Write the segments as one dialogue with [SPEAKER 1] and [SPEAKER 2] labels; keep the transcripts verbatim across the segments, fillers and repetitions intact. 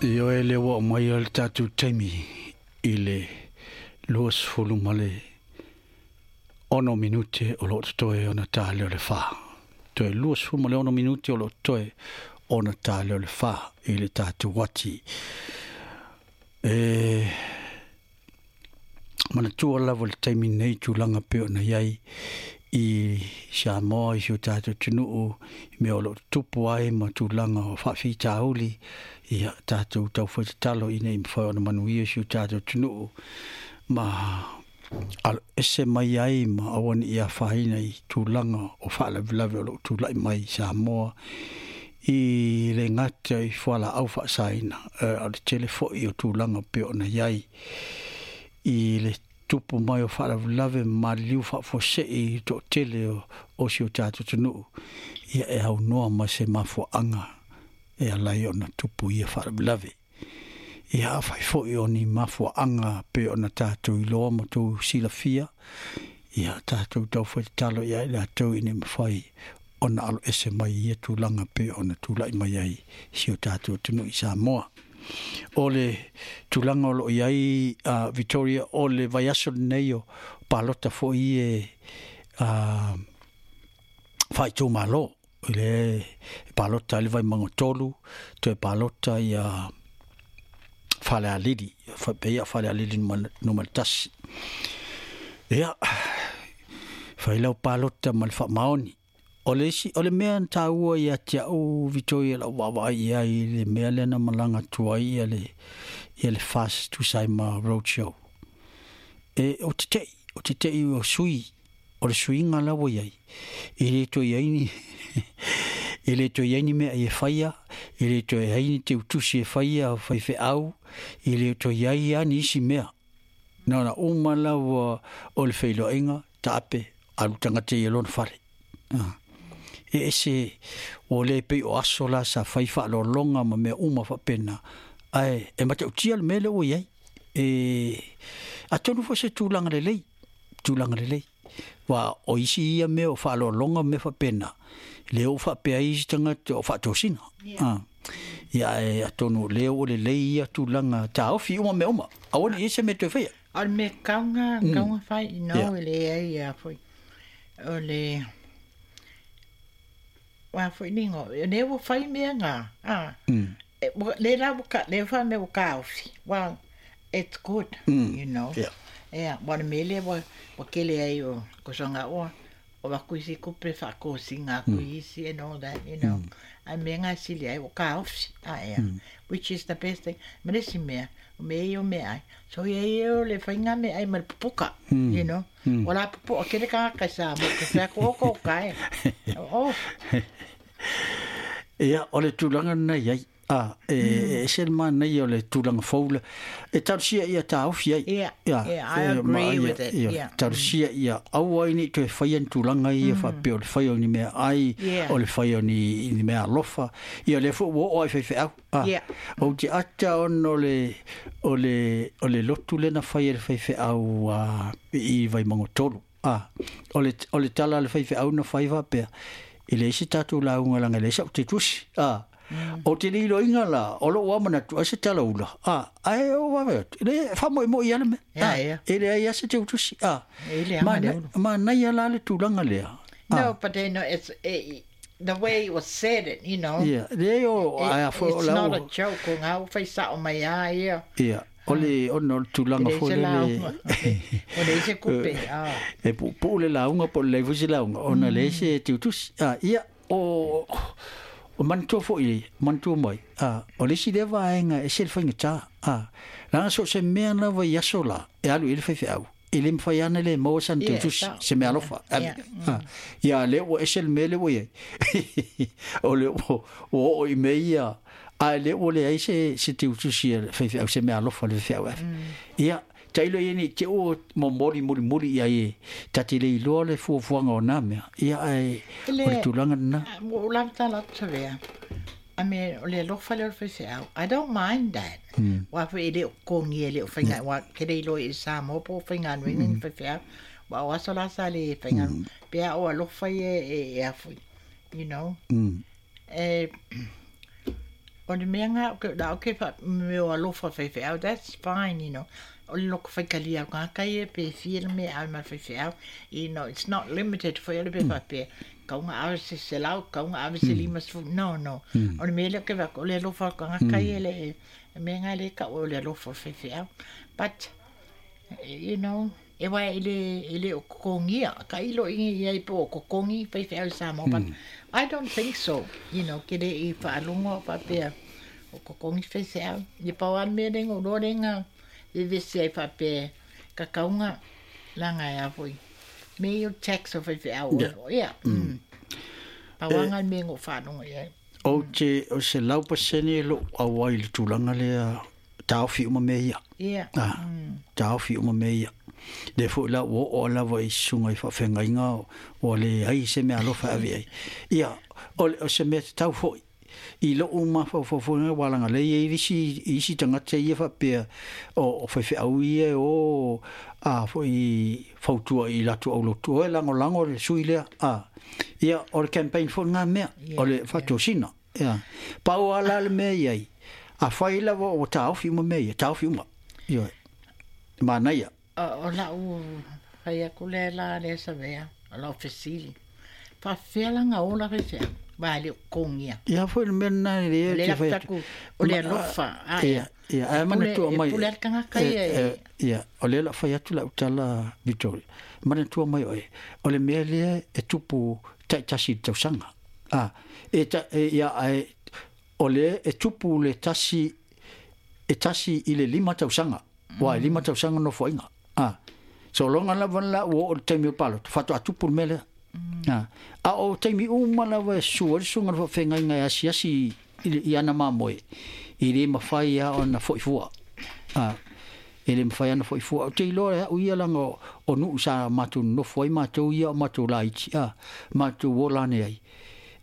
[SPEAKER 1] Ioe lea ua aumaia le tatou taimi i le luasefulu ma le ono minute o loo totoe ona ta lea o le fa. Toe luasefulu ma le ono minute o loo totoe ona ta lea o le fa i le tatou uati. E manatua lava le taimi nei tulaga pei ona i ai i Samoa i si o tatou atunuu i mea o loo tutupu ai ma tulaga o faafitauli. Ia tatou taufai tatalo ina ia mafai ona manuia si o tatou atunuu ma alo ese mai ai ma aua ne i afaina i tulaga o faalavelave o loo tulai mai i Samoa i le gata i fualaau faasaina, a o le tele foi o tulaga pei ona i ai i le tupu mai o faalavelave ma maliliu faafuasei i le toatele o, o si o tatou atunuu. Ia e aunoa ma se mafuaaga e ala ai ona tupu ia faalavelave. Ia afai foi o ni mafuaaga pei ona tatou iloa ma tou silafia, ia tatou taufai tatalo ia i latou ina ia mafai ona alo ese mai i ia tulaga pei ona tulai mai ai si o tatou atunuu i Samoa. O le tulaga o loo i ai uh, Victoria, o le vaiaso lenei o palota foi e uh, faaitumalo i le palota i le Vaimauga tolu, toe palota ia Falealili, faapea Falealili numera tasi. Ia, fai lau palota ma le faamaoni. O le isi, o le mea na taua ia te au Victoria lau vaavaai i ai i le mea lea na malaga atu ai ia le, ia le F A S tusa ai ma roadshow. E, o te tei, o te tei o sui, o le suiga la ua i ai. E le toe i ai ni, e le toe i ai ni mea e faia, e le toe ai ni teutusi e faia faifeau, e le toe i ai lava ni isi mea. Na ona uma lava o le feiloaiga, taape, alu tagata ia lona fale. Ah. E ese ua le pei o aso la sa fai faaaloaloga ma mea uma faapena, ae e matautia le mea lea ua i ai. E atonu foi se tulaga lelei, tulaga lelei. Aua o isi ia mea o faaaloaloga ma mea faapena, lea ua faapea ai isi tagata o faatosina. Ah. Ia ae atonu o lea ua lelei ia tulaga taofi uma mea uma. Aua ne i i ai se mea toe faia.
[SPEAKER 2] O le mea kauga,
[SPEAKER 1] Mm.
[SPEAKER 2] kauga fai, no,
[SPEAKER 1] Yeah.
[SPEAKER 2] e leai a foi. O le wa foi ni ngo, ne ua fai mea ngā. Ah.
[SPEAKER 1] Mm.
[SPEAKER 2] E, wa- le la ua ka, le fa mea ua kaofi. Well, it's good,
[SPEAKER 1] Mm.
[SPEAKER 2] you know.
[SPEAKER 1] Yeah.
[SPEAKER 2] Ea, wa le mele wa, wa kele ai o, ko songa o, o wa kuisi kupe fa kosi ngā kuisi and all that, you know. Ai mea ngā sili ai, o kaofi. Ah, ea. Which is the best thing. Ma le si mea, o mea i o mea ai. So ia i o le whai ngā mea ai ma le pupuka, you know. O la pupuka, kere ka kai sa, mo ke whea ko ko kai. Oh,
[SPEAKER 1] Ia, o le tulaga lena i ai. Ah, e, e ese le manaia o le tulaga fou le. E talosia ia taofi ai.
[SPEAKER 2] Yeah, yeah, I
[SPEAKER 1] e, ma,
[SPEAKER 2] agree
[SPEAKER 1] ia,
[SPEAKER 2] with it,
[SPEAKER 1] ia,
[SPEAKER 2] yeah.
[SPEAKER 1] Talosia ia aua ai nei toe faia ni tulaga ia faapea o le faia o ni mea ai,
[SPEAKER 2] Yeah.
[SPEAKER 1] o le faia o ni, ni mea alofa. Ia lea foi ua oo ai faifeau. Ah,
[SPEAKER 2] Yeah.
[SPEAKER 1] Ou te ata ona o le, o le, o le lotu lea na fai e le faifeau uh, i Vaimauga tolu. Ah, o le, o le tala a le faifeau na fai faapea, e leai se tatou lauga leaga e leai sau tetusi. Ah, mm. O te le iloiga la, o lou amanatu ai se tala ula. Ah, ae o vave atu. Le faamoemoe i ale mea.
[SPEAKER 2] Yeah,
[SPEAKER 1] Ah,
[SPEAKER 2] yeah.
[SPEAKER 1] E leai a se teutusi. Ah,
[SPEAKER 2] E le anga le ulu.
[SPEAKER 1] manaia la le tulaga lea.
[SPEAKER 2] No, but then it's eh, the way it was said it, you know.
[SPEAKER 1] Ia, leai o,
[SPEAKER 2] It,
[SPEAKER 1] ai a foi o
[SPEAKER 2] it's
[SPEAKER 1] lau.
[SPEAKER 2] not a joke o ngā whai sao mai a ia.
[SPEAKER 1] Ia, o le, ona o le tulaga
[SPEAKER 2] E le
[SPEAKER 1] foi
[SPEAKER 2] se
[SPEAKER 1] lele.
[SPEAKER 2] lauga. O le se kupe. Ah.
[SPEAKER 1] E puupuu le lauga po o le leai foi se lauga ona leai se teutusi. Ah, ia, o, o manatua foi, manatua mai. Ah, o le isi lea vaega e ese le faigata. Ah, leaga so o se mea lava i aso la, e alu i ai le faifeau. E le mafai lava ona le maua sana
[SPEAKER 2] Yeah,
[SPEAKER 1] teutusi,
[SPEAKER 2] sao.
[SPEAKER 1] se mea alofa.
[SPEAKER 2] Yeah.
[SPEAKER 1] Ah, ia lea ua ese le mea lea ua i ai. O lea ua ua oo i mea ia, ae lea ua leai se, se teutusi a le faifeau, se mea alofa a le faifeau ave. Ia, tailo ia nei te ua momoli mulimuli i ai e ta te le iloa le fuafuaga o nā mea. Ia, ae
[SPEAKER 2] E le-
[SPEAKER 1] o le tulaga lena.
[SPEAKER 2] Ah, O la tala atu vea. I mean, o le alofa le o le faifeau. I don't mind that. Mm. Wa foi e le o kongi e le o whainga. Wa ke le ilo i sa mo po whainga nui mm. faifeau. Wa o aso la sa le whainga. Mm. Pea o alofa i e e, e a foi. You know.
[SPEAKER 1] Mm.
[SPEAKER 2] E, O le mea ngā, o la o ke fa me o alofa faifeau, that's fine, you know. O le loko faikalia o ngā kai e pe fia le mea au ma faifeau, you know, it's not limited foi ole pe faapea, kaunga ave se selau, kaunga ave se lima sefu, no, no. O le mea lea ke vak, o le alofa o ngā kai e le, e mea ngā le ka o le alofa faifeau. But, you know, e wai e le, e le o kokongia, ka ilo ingi ia i po o kokongi faifeau i Samoa, but I don't think so, you know, ke le i whaalongo whapea, o kokongi faifeau. I pau an mea lenga, o loa lenga, e vese ai whapea, ka kaunga langa e a foi. Me i o tax o faifeau.
[SPEAKER 1] Yeah.
[SPEAKER 2] Yeah. Mm. Pau anga mea ngo whaalongo ia.
[SPEAKER 1] O te, o se lau pasene lo au ai le tulaga lea taofi uma mea ia.
[SPEAKER 2] Yeah.
[SPEAKER 1] Ah, taofi uma mea ia. Le foi la o o lava i susuga i faafeagaiga ua leai se mea alofa ave ai. Ia, o, o se mea tatau foi. I lou mafaufaufoga ua lagalei ai isi, isi tagata ia faapea o, o faifeau ia o a foi fautua i latou aulotu o e lagolago le sui lea. A, ia, o le campaign foi ngā mea,
[SPEAKER 2] Yeah,
[SPEAKER 1] o le faatosina. Ia. Pau ala le mea iai. A fai lava o taofi uma mea ia, taofi uma. Ia. Manaia.
[SPEAKER 2] O, o lau whai aku le la le sawea, o lau fesili. Whawhea langa o la faifeau, wa le o kongia.
[SPEAKER 1] Ia foi le mea na le
[SPEAKER 2] Le
[SPEAKER 1] te
[SPEAKER 2] la
[SPEAKER 1] fai atu.
[SPEAKER 2] taku, o le alofa. Ah,
[SPEAKER 1] Ia, ia, ae manatua mai.
[SPEAKER 2] E pule al kangaka ia.
[SPEAKER 1] E, e, ia, o le la fai atu lau tala Victoria. Manatua mai oe, o le mea lea e tupu taitasi i le tausaga. Ah, e ta, e, ia, ae, o le e tupu le tasi, e tasi i le lima tausaga. Ua, e lima tausaga nofoaiga. Ah, so longa lava la ua oo le taimi o le palota, faatoa tupu le mea lea. Ah, a o taimi uma lava e sua le susuga le faafeagaiga e asiasi i, le- i ana mamoe, i le mafai a ona fo'i fua. Ah, e le mafai ana fo'i fua. O te iloa e au ia laga o, o nuu sa matou nonofo ai matou ia o matou laiti, a, matou ola ane ai.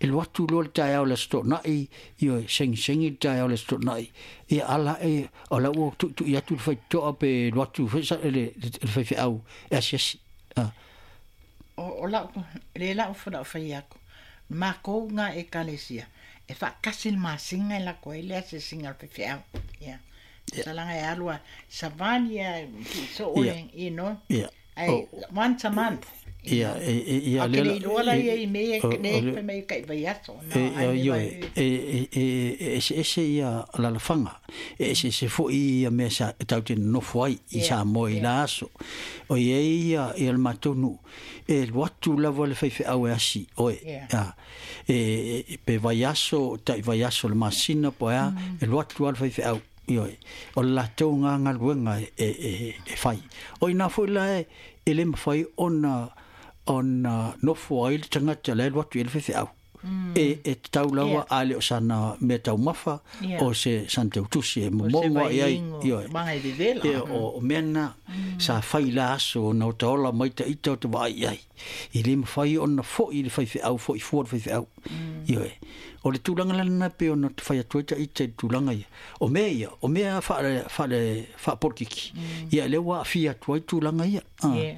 [SPEAKER 1] E alu atu loa le taeao le aso toonai, ioe, segisegi le taeao le aso toonai. Ia ala e, o la ua tu'itu'i atu le faitotoa pe alu atu foi sa- le, le, le faifeau e asiasi. Ah,
[SPEAKER 2] O, o lau, le lau fo lau whai aku. Mākou ngā e kalesia. E whaakasi le masinga e lako ai le ase singa le faifeau. Yeah.
[SPEAKER 1] Yeah.
[SPEAKER 2] Salanga e alua savani a ki so
[SPEAKER 1] Yeah.
[SPEAKER 2] o you know.
[SPEAKER 1] ia.
[SPEAKER 2] Ai,
[SPEAKER 1] O-
[SPEAKER 2] once a month.
[SPEAKER 1] Ia, e, e, ia,
[SPEAKER 2] A
[SPEAKER 1] lea
[SPEAKER 2] ke
[SPEAKER 1] la-
[SPEAKER 2] le iloa la ia i me
[SPEAKER 1] o-
[SPEAKER 2] e
[SPEAKER 1] o
[SPEAKER 2] ne
[SPEAKER 1] le-
[SPEAKER 2] pe me kai vai aso. No,
[SPEAKER 1] E,
[SPEAKER 2] ai
[SPEAKER 1] e,
[SPEAKER 2] me
[SPEAKER 1] ioe,
[SPEAKER 2] vai-
[SPEAKER 1] e, e, e, e ese ese ia alalafaga, e ese ese foi ia mea sa e tatou te nonofo ai i
[SPEAKER 2] Yeah,
[SPEAKER 1] Samoa i
[SPEAKER 2] yeah.
[SPEAKER 1] la aso. O i ai ia, ia le matou nuu, e alu atu lava le faifeau e asi, oe.
[SPEAKER 2] Yeah.
[SPEAKER 1] A, e, e, pe vaiaso, tai vaiaso le masina po ea, e alu atu lava le faifeau. Ioe, o le latou gā galuega e, e, e, e fai. O ina foi la e, e le mafai ona ona nofo ai le tagata la e alu atu i le faifeau. E, e tatau lava
[SPEAKER 2] Yeah.
[SPEAKER 1] a le o sana mea taumafa
[SPEAKER 2] Yeah.
[SPEAKER 1] o se sana teutusi e
[SPEAKER 2] O se
[SPEAKER 1] momogo ai ai.
[SPEAKER 2] vaiingo,
[SPEAKER 1] Ioe.
[SPEAKER 2] manga e vevela.
[SPEAKER 1] Ia, o, o mea na sa fai la aso na o taola mai ta ita o te vaai ai. I le mawhai ona fo'i le faifeau, fo'i fua le faifeau. Ioe. O le tulaga lana pe ona te whai atu ai ta ita i le tulaga ia. O mea ia, o mea whaale, whaale, whaapolokiki. Ia, le ua awhia atu ai tulaga ia. Ah.
[SPEAKER 2] Yeah, yeah.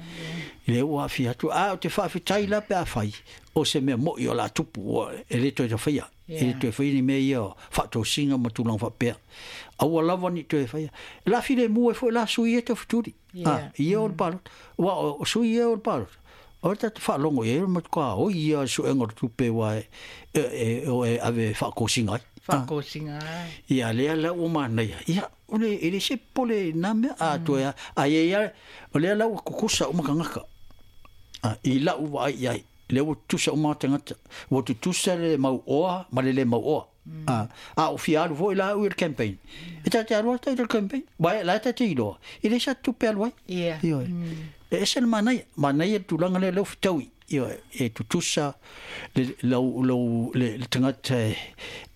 [SPEAKER 1] Le ua awhia atu. A, o te whaawhitai la pe a whai. O se mea moi o la tupu, o, e le toe tawhaia. E le
[SPEAKER 2] Yeah.
[SPEAKER 1] toe whai ni mea ia o whaatōsinga ma tulaga whaapea. Aua lava ni toe whaia. La file mua e foi la sui e te futuri.
[SPEAKER 2] Yeah.
[SPEAKER 1] Ah, ia o le palota. Ua, o, o sui ia o le palota. O le tata whaalongo ia, ma tuka o ia suenga o le tupe wa e, e, e, o e ave whaakōsinga ai. Ah.
[SPEAKER 2] Whaakōsinga ai.
[SPEAKER 1] Ia lea la ua manaia. Ia, o le, e le se pole nā mea a toe a, a ia ia, o lea la ua kukusa uma kangaka. A, i lau wa ai ai. Le ua tutusa uma tangata. Ua tutusa le mau oa, ma le le mau oa. A, a o fia alu foi la ui le campaign. E tate alu ata i le campaign. Vai, la tate iloa. I le sa tupe alu ai.
[SPEAKER 2] Yeah.
[SPEAKER 1] Ioe. E ese le manaia. Manaia le tulaga lea leu fetaui. Ioe. E tutusa le, lau, lau, le, le tagata e,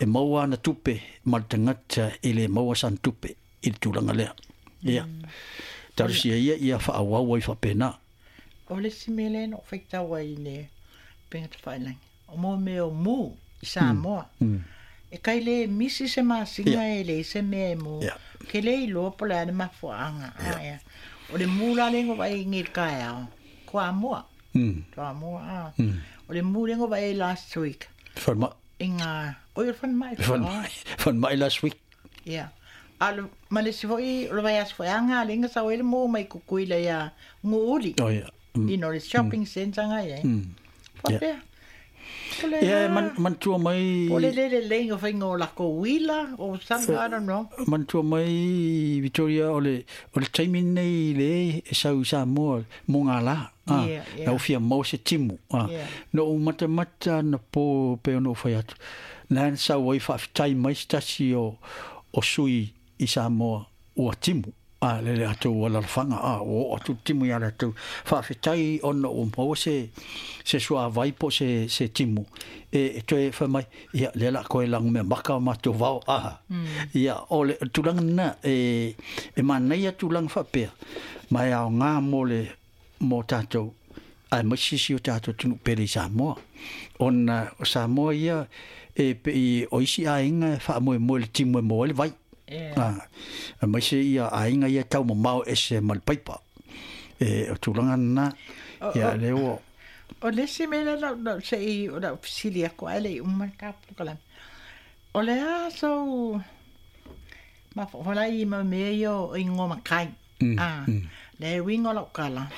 [SPEAKER 1] e maua ana tupe ma le tagata e le maua sana tupe i le tulaga lea. Ia. Talusia ia ia faaauau ai faapena.
[SPEAKER 2] O le si mea lea na ou faitau ai i le upega tafailagi. O mo mea o mū i Samoa.
[SPEAKER 1] Mm.
[SPEAKER 2] E kai le misi se masina e le se mea e mū.
[SPEAKER 1] Yeah.
[SPEAKER 2] Ke le iloa po o le a le mafuaaga. Aia. O le mū la le vaai i le taeao. Toamua.
[SPEAKER 1] Mm.
[SPEAKER 2] Toamua. Ah. O le mū le vaai last week.
[SPEAKER 1] Whalma.
[SPEAKER 2] Inga oi fan mai.
[SPEAKER 1] Fan mai fan mai last week.
[SPEAKER 2] Yeah. Al ma le si foi o le vaiaso foi aga le inga sau ai le mo mai Kukuila ia Guuli.
[SPEAKER 1] Oh yeah.
[SPEAKER 2] You know, le shopping centre nga ia. Faapea.
[SPEAKER 1] Ia man manatua mai
[SPEAKER 2] o le le le leiga o faiga o lakou uila or something, I don't know.
[SPEAKER 1] Manatua mai Victoria o le o le taimi lenei le e sau i Samoa mo ngā lā. Ah,
[SPEAKER 2] Yeah, yeah.
[SPEAKER 1] Na ufia mau se timu. Ah.
[SPEAKER 2] Yeah.
[SPEAKER 1] No u matamata na po pe ono whai atu. Nā sau ai whaafetai mai se tasi o, o sui i Samoa ua timu. Ah, le le atu ua lalafanga. Ah, o atu timu ia le atu. Whaafetai ono o maua se, se sua vai po se, se timu. E, e toe whai mai, ia le la koe langu mea maka o mātou vao. Ah.
[SPEAKER 2] Mm.
[SPEAKER 1] Ia, o le tūlanga nā, e, e manaia tūlanga whapea. Mai ao ngā mō le mō tātou, ai mai sisi o tātou tunu pere i Samoa. Ona o Samoa ia, e pe i o isi ainga e whaamoe moe le timu e moe le vai.
[SPEAKER 2] Yeah.
[SPEAKER 1] Ah, a mai se ia ainga ia tau mamao ese ma le paipa. E o tūlanga nā,
[SPEAKER 2] O-
[SPEAKER 1] ia
[SPEAKER 2] o-
[SPEAKER 1] le o.
[SPEAKER 2] O le isi mea lea lau se i o lau fesili aku ae le i uma le polokalame. O le a sou mafofola i mau mea ia o igoa makai. Ah, le uiga o lau kala.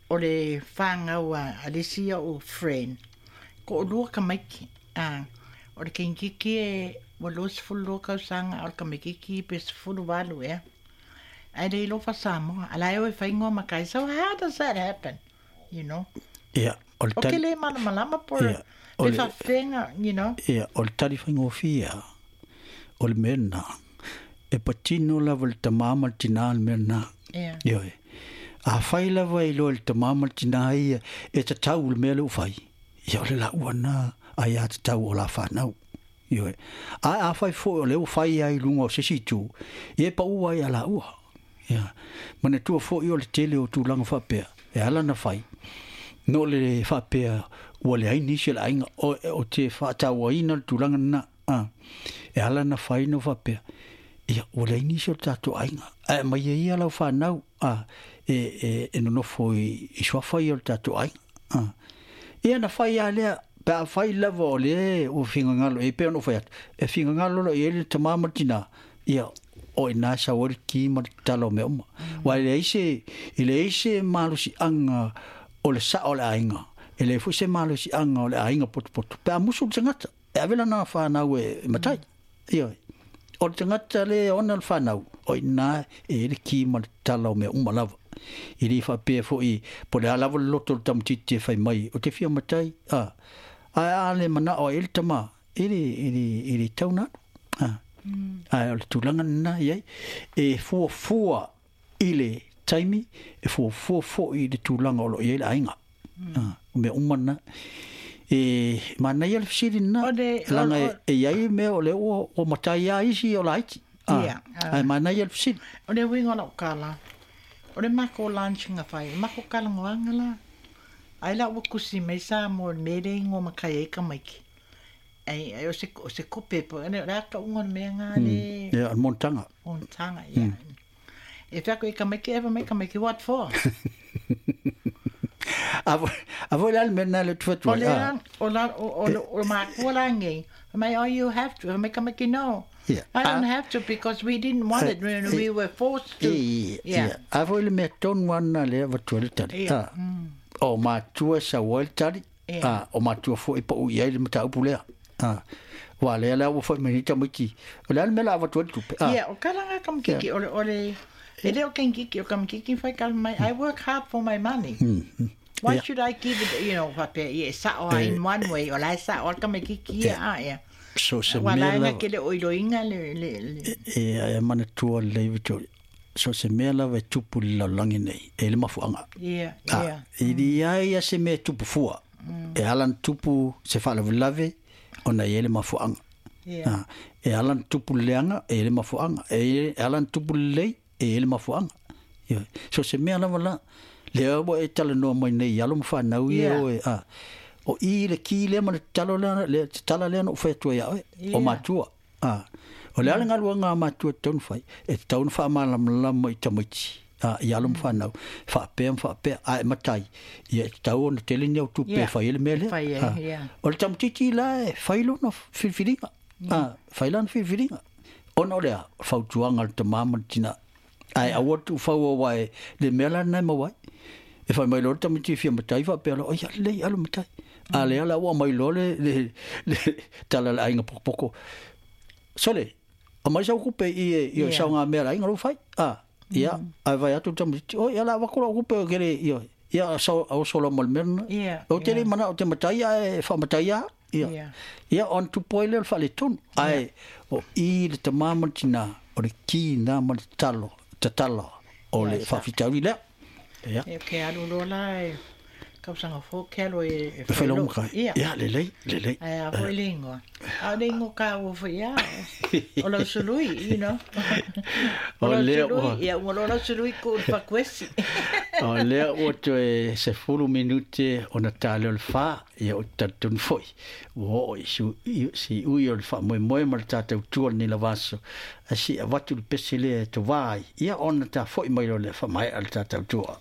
[SPEAKER 2] O le fāgau a a le isi o'u friend. To'alua tamaiti. Ah, o le keikiki e ua lua sefulu lua tausaga a o le tamaititi pe sefulu valu ea. Ae le iloa fa'asamoa a lae o e faigoa makai. So how does that happen? You know?
[SPEAKER 1] Ia, o le
[SPEAKER 2] O ke
[SPEAKER 1] tali,
[SPEAKER 2] le malamalama po
[SPEAKER 1] Ia, o
[SPEAKER 2] le
[SPEAKER 1] le-
[SPEAKER 2] fa'afega, you know?
[SPEAKER 1] ia, o le tali whaingofia, o le mea nā, e patino lava le tamā ma le tinā le mea nā.
[SPEAKER 2] Yeah.
[SPEAKER 1] Ioe. A whai lava i loa le tamā ma le tinā ia, e tatau le mea le u whai. Ia o le laua nā, ai a tatau o la whanau. Ioe. A a whai fo o le u whai ai lunga o sisi tū, ia e pa ua ai a laua. Ia. Mana tua fo i o le tele o tūlanga whapea, e ala na whai. No le whapea, ua le aini se le ainga, o, o te whaataua ina le tūlanga nā. Ah. E ala na whai no whapea. Ia, ua le aini se o le tātou ainga. A mai e ia lau whanau, ah, e, e, e nonofo i, i suafa ia o le tātou ainga. Ah. Ia na whai a lea, pe a whai lava o le o whingangalo, e pea no whai atu. E whingangalo lo i ele tamā ma le tinā. Ia, o i nā sa ori ki ma le tala o mea uma. Wa i le eise, i le eise malusi anga o le sa o le ainga. E le fuse malusi anga o le ainga potupotu. Pe a musu le tangata, e avela nā whanau e matai. Ia, o le tangata le ona le whanau, o i nā e le ki ma le tala o mea uma lava. I le whapea fo i, po le alava le loto le tamatiti e whai mai, o te whia matai, a, a a le mana o e le tama, e le, e le, e le tauna. A, a o le tūlanga nā iai, e fua fua i le taimi, e fua fua fo i le tūlanga o lo iai le ainga. A, o mea uma nā. E mana ia le whisiri nā,
[SPEAKER 2] O le- o-
[SPEAKER 1] langa e,
[SPEAKER 2] o-
[SPEAKER 1] e iai mea o le o, o matai a isi o la aiti. A,
[SPEAKER 2] Ia, a.
[SPEAKER 1] a mana ia le whisiri.
[SPEAKER 2] O le uiga o lau kala. O le mako lunch nga whai. O mako kalangoanga la. Ai la ua kusi mai sa mo le mele ingo makai ai tamaiti. Ai, ai o se, o se kope po. Ane, o le aka ungo le mea ngā le
[SPEAKER 1] Ia, o le montanga.
[SPEAKER 2] montanga, ia. E whiako i tamaiti, ewa mai tamaiti, what for?
[SPEAKER 1] A vo, a vo le ale mea nā le tuwhatu.
[SPEAKER 2] O le a, o la, o, o, o, o makua la ngei. Mai, oh, you have to. Mai tamaiti, no.
[SPEAKER 1] Yeah.
[SPEAKER 2] I don't
[SPEAKER 1] Ah.
[SPEAKER 2] have to because we didn't want it when we were forced to.
[SPEAKER 1] E,
[SPEAKER 2] Yeah.
[SPEAKER 1] ia. A vo le mea tonu ana le avatua le tali.
[SPEAKER 2] Ia.
[SPEAKER 1] A, o matua sa ua le tali.
[SPEAKER 2] Ia.
[SPEAKER 1] A, o matua fo i pa ui ai le mataupu lea. A, wa lea lea ua fo i mai ni tamaiti. O le ale mea la avatua le tupe. A,
[SPEAKER 2] Yeah, o kalanga kamkiki, o le, o le, e le o kenkiki, o kamkiki whai kala mai, I work hard for my money. Why
[SPEAKER 1] Yeah.
[SPEAKER 2] should I give it, you know, whapea, yeah, sao a in one way, o lai sao al kamkiki, ia, a, ia.
[SPEAKER 1] so se
[SPEAKER 2] Wa
[SPEAKER 1] mea
[SPEAKER 2] lai nga
[SPEAKER 1] lava.
[SPEAKER 2] ke le oiloinga le, le, le.
[SPEAKER 1] E, e mana tua le Victoria. So se mea lava e tupu le lalolagi nei, e le mafuaga.
[SPEAKER 2] Yeah,
[SPEAKER 1] Ah,
[SPEAKER 2] yeah.
[SPEAKER 1] i li ai ia se mea e tupu fua. E ala na tupu se faalavelave, ona i ai le mafuaga.
[SPEAKER 2] Yeah.
[SPEAKER 1] Ah, e ala na tupu le leaga, e ai le mafuaga. E e ala na tupu lelei, e ai le mafuaga. Ioe. So se mea lava la, lea ua e talanoa mai nei i alo ma fanau ia
[SPEAKER 2] Yeah.
[SPEAKER 1] oe. Ah, o i le ki lea ma le talo lea, le tala lea na ou fai atu ai ia oe, o
[SPEAKER 2] Yeah.
[SPEAKER 1] matua. Ah, o le ale galuega a matua e tatau ona fai, e tatau ona faamalamalama i tamaiti. A, i alo ma fanau, faapea ma faapea, a e matai, ia e tatau ona tele ni au tupe e
[SPEAKER 2] Yeah,
[SPEAKER 1] fai ai le mea
[SPEAKER 2] e
[SPEAKER 1] lea.
[SPEAKER 2] fai
[SPEAKER 1] A,
[SPEAKER 2] ai, yeah.
[SPEAKER 1] o le tamaitiiti la e fai lona filifiliga. A, fai lana filifiliga. Ona o le a, o le fautuaga a le tamā ma le tinā. Ae aua le tuufaua aua e le mea la lena e maua ai. E fai mai loa le tamaiti e fia matai faapea loa, ia lelei alu matai. A lea la ua aumai loa le, le, le tala a le aiga pokopoko. Sole, aumai sau kupe i e, i o
[SPEAKER 2] Yeah.
[SPEAKER 1] saogamea a le aiga lou fai. A, ia, ae vaai atu le tamaitiiti, oi, ia o le a avatu lau kupe ou te le, ioe. Ia, sau, oso loa ma le mea lena.
[SPEAKER 2] Yeah,
[SPEAKER 1] Ou te le
[SPEAKER 2] yeah.
[SPEAKER 1] manao ou te matai ae faamatai lava. Ia.
[SPEAKER 2] Yeah.
[SPEAKER 1] Ia, ona tupu ai lea o le faaletonu. Ae o i le tamā ma le tinā, o le ki lena ma le tatalo, tatala o le
[SPEAKER 2] Yes.
[SPEAKER 1] faafitauli lea. Ia.
[SPEAKER 2] E ke alu loa la e tausaga fou ke alu e e
[SPEAKER 1] E fai lau
[SPEAKER 2] failo.
[SPEAKER 1] makai.
[SPEAKER 2] Ia.
[SPEAKER 1] Ia, lelei, lelei.
[SPEAKER 2] Ae a foi le ingoa. A o le ingoa kāua foi ia. O lau sului, you know. O
[SPEAKER 1] O
[SPEAKER 2] lau
[SPEAKER 1] lea
[SPEAKER 2] sului,
[SPEAKER 1] ua,
[SPEAKER 2] ia ua loa lau sului ku le fakuesi.
[SPEAKER 1] o lea ua toe sefulu minute ona ta lea o le fa, ia ou te talitonu foi. Ua oo i su, i, siui o le faamoemoe ma le tatou tua lenei lava aso. Ae seia avatu le pese lea e tovā ai, ia ona ta foi mai loa lea faamaea le tatou tua.